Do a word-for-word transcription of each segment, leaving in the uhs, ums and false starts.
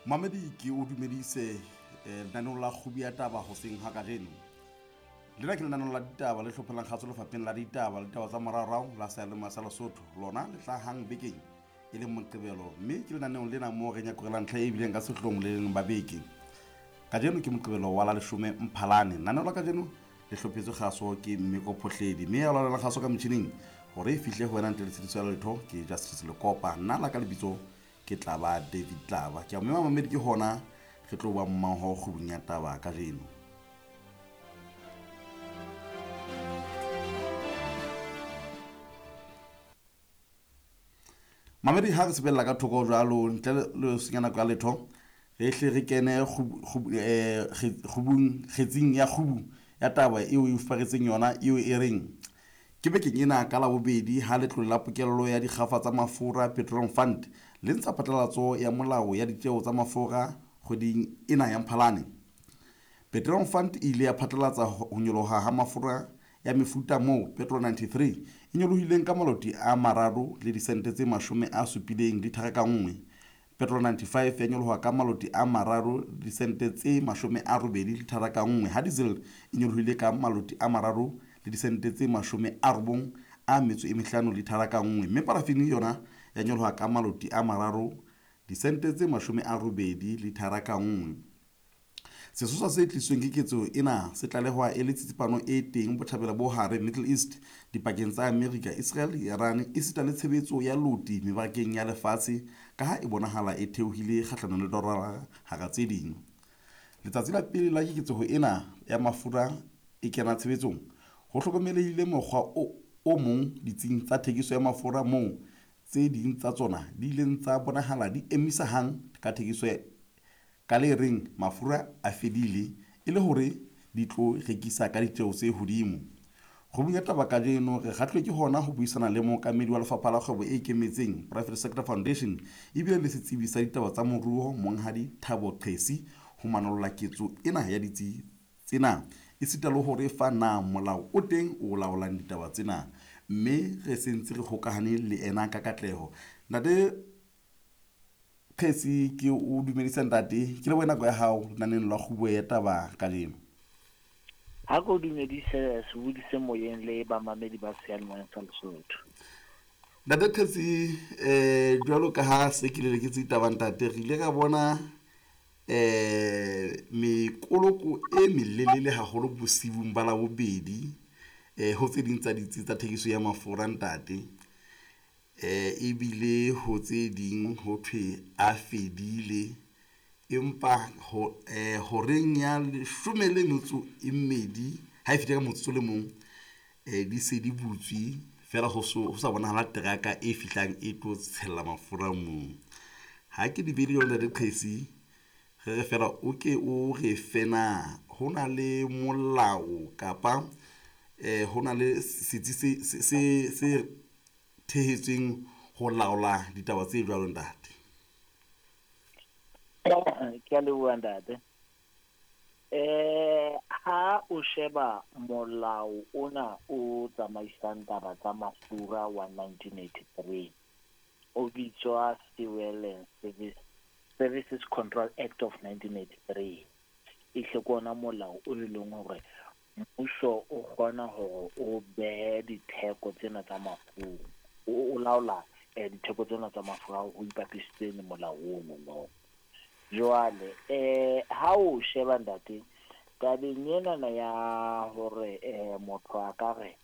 Mamedi ke o dumedise lenaneong la kgubu ya taba hoseng ha kajeno. Lena ke lenaneo la ditaba le hlophelang kgatso lefapheng la ditaba le ditaba tsa moraorao la seyalemoya sa Lesotho. Lona le hlahang bekeng e leng Moqebelo, mme ke lenaneong lena moo re nyakorelang ntlha e bileng ka sehloohong le leng ba beke. Kajeno ke Moqebelo wa la leshome Mphalane. Lenaneo la kajeno le hlophetswe kgaso ke Mmeko Phohledi, mme ya laolang kgaso ka motjhining hore e fihle ho wena ntle le tshitiso ya letho ke Justice Lekopa. Nna la ka lebitso ke Tlaba David Tlaba. Ke a mema mamedi ke hona re tlo ba mmoho kgubung ya taba kajeno. Mamedi ha re sebella ka thoko jwalo ntle le senya nako ya letho, re hle re kene kgubung kgetsing ya kgubu ya taba eo e fuparetseng yona eo e reng ke bekeng ena ka Labobedi ha letlole la pokello ya dikgafa tsa mafura Petroleum Fund le ntsha phatlalatso ya molao ya ditjeo tsa mafura kgweding ena ya Mphalane. Petroleum Fund e ile ya phatlalatsa ho nyoloha ha mafura ya mefuta moo Petrol ninety-three e nyolohileng ka maloti a mararo le disente tse mashome a supileng lithara ka nngwe. Petrol ninety-five ya nyoloha ka maloti a mararo le disente tse mashome a robedi lithara ka nngwe, ha diesel e nyolohile ka maloti a mararo le disente tse mashome a robong a metso e mehlano lithara ka nngwe, mme parafini yona ya nyoloha ka maloti a mararo disente tse mashome a robedi lithara ka nngwe. Sesosa se tlisweng ke ketso ena se tlalehwa e le tsitsipano e teng botjhabela bo hare Middle East, dipakeng tsa Amerika, Israel, Iran esita le tshebetso ya loti mebarakeng ya lefatshe ka ha e bonahala e theohile kgahlanong le dolara hara tse ding. Letsatsi la pele la keketseho ena ya mafura e kena tshebetsong, ho hlokomelehile mokgwa o, o mong ditsing tsa thekiso ya mafura moo tse ding tsa tsona di ileng tsa bonahala di emisa hang ka thekiso ya ka le reng mafura a fedile e le hore di tlo rekisa ka ditjeo tse hodimo. Kgubung ya taba kajeno re kgahlwe ke hona ho buisana le mookamedi wa lefapha la kgwebo e ikemetseng Private Sector Foundation ebile le setsebi sa ditaba tsa moruo Monghadi Thabo Qesi ho manolla ketso ena ya ditsi tsena esita le hore fa na molao o teng o laolang ditaba tsena, mme re sentse re hokahane le ena ka katleho. Ntate Qesi, ke o dumedisa ntate, ke lebohe nako ya hao lenaneng la kgubu ya taba kajeno. Ha ke o dumedise sebodi se moyeng le bamamedi ba seyalemoya sa Lesotho. Ntate Qesi, eh jwalo ka ha se ke leleketse ditaba ntate, re ile ra bona eh mekoloko e melelele haholo bosibung ba Labobedi eh ho tse ding tsa ditsi tsa thekiso ya mafura ntate. Eh ebile ho tse ding ho thwe a fedile, empa ho eh horeng ya leshome le metso e mmedi ha e fihla ka motsotso le mong eh di se di butswe fela ho so ho sa bonahala teraka e fihlang e tlo tshella mafura moo. Ha ke di bele yona le Qesi, re re fela o ke o re fena ho na le molao kapa eh ho na le setsi se se se thehetsweng ho laola ditaba tse jwalo ntate? Ke a leboha ntate. Eh ha o sheba molao ona o tsamaisang taba tsa mafura wa nineteen eighty-three o bitswa Fuel and Service Services Control Act of nineteen eighty-three, e hle ke ona molao o e leng hore mmuso o kgona hore o behe ditheko tsena tsa mafura, o laola ditheko tsena tsa mafura ho ipapisitse le molao ono no. Jwale eh ha o sheba ntate tabeng ena ya hore eh motho a ka re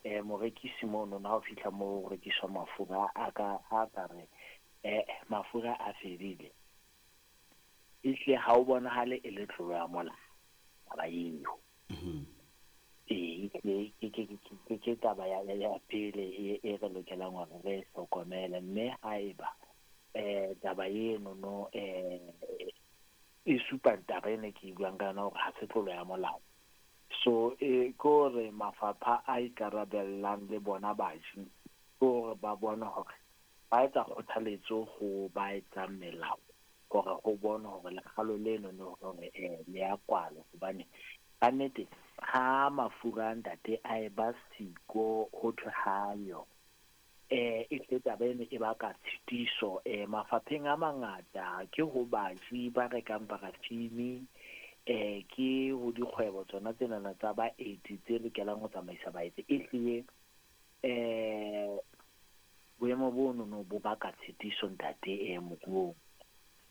eh morekisi mono na ho fihla mo ho rekiswa mafura a ka a ka re eh mafura a fedile, ehle ha o bonahale e le tlolo ya molao taba eo. Ee, ke ke ke ke taba ya ya pele e re lokelang hore re hlokomele, mme haeba eh taba eno no eh e supa taba ena ke buang ka yona hore ha se tlolo ya molao. So e ke hore mafapha a ikarabellang le bona baji ke hore ba bone hore ba etsa kgothaletso ho ba etsang melao hore ho bone hore lekgalo leno no hore eh le ya kwalwa, hobane ka nnete ha mafura ntate a e ba siko ho thwe hayo Eh e tle taba eno e baka tshitiso eh mafapheng a mangata, ke ho baji ba rekang parafini, eh ke ho dikgwebo tsona tsenana tsa baeti tse lokelang ho tsamaisa baeti. E hlile eh boemo bono no bo baka tshitiso ntate eh moruong.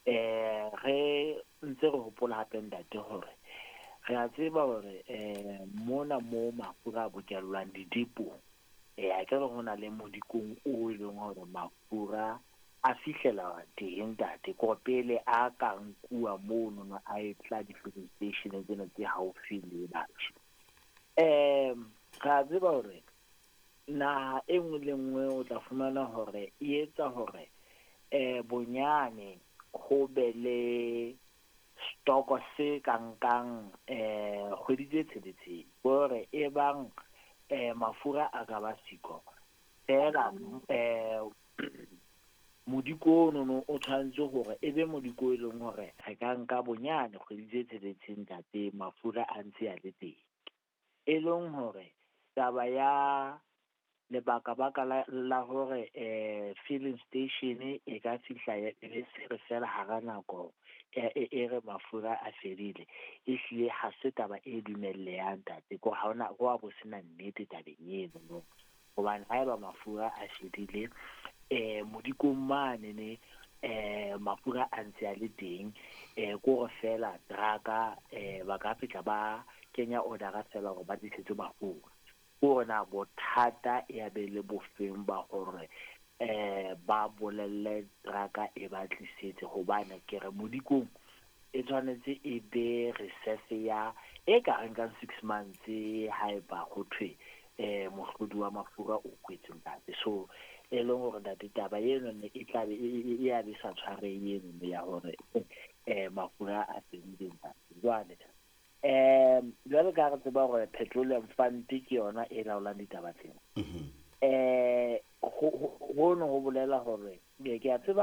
Eh re ntse re hopola hape ntate hore re a tseba hore eh mona mo mafura a bokellwang didepong, eh a ke re ho na le modikong o e leng hore mafura a fihlela teng ntate, ko pele a ka nkuwa mono no a e tla di-filling station tsena tse haufi le batho. Um re a tseba hore naha e nngwe le nngwe o tla fumana hore e etsa hore eh bonyane ho be le stoko se ka nkang eh kgwedi tse tsheletseng, hore e bang eh mafura a ka ba siko fela eh modiko ono no o tshwanetse hore e be modiko e leng hore re ka nka bonyane kgwedi tse tsheletseng ntate mafura a ntse a le teng. E leng hore taba ya lebaka-baka la, la hore eh filling station e ka fihla ya e se re fela hara nako e e re mafura a fedile, e hlile ha se taba e dumellehang ntate, ko ha hona ho a bo sena nnete tabeng eno no. Hobane haeba mafura a fedile eh modikong mane ne eh mafura a ntse a le teng, eh ko re fela trucka eh ba ka fihla ba kenya order fela hore ba tlisetse mafura. Ko na bothata ya be le bofeng ba hore eh ba bolelle trucka e ba tlisetse, hobane ke re modikong e tshwanetse e be reserve ya e ka reng ka six months haeba ho thwe eh mohlodi wa mafura o kwetse ntate. So e leng hore ntate taba eno ne e tla be e ya be sa tshwarehe eno ya hore eh mafura a fedile ntate. Jwale um jwale ka re tseba hore Petroleum Fund ke yona e laolang ditaba tsena, eh ho no ho bolela hore ke a tseba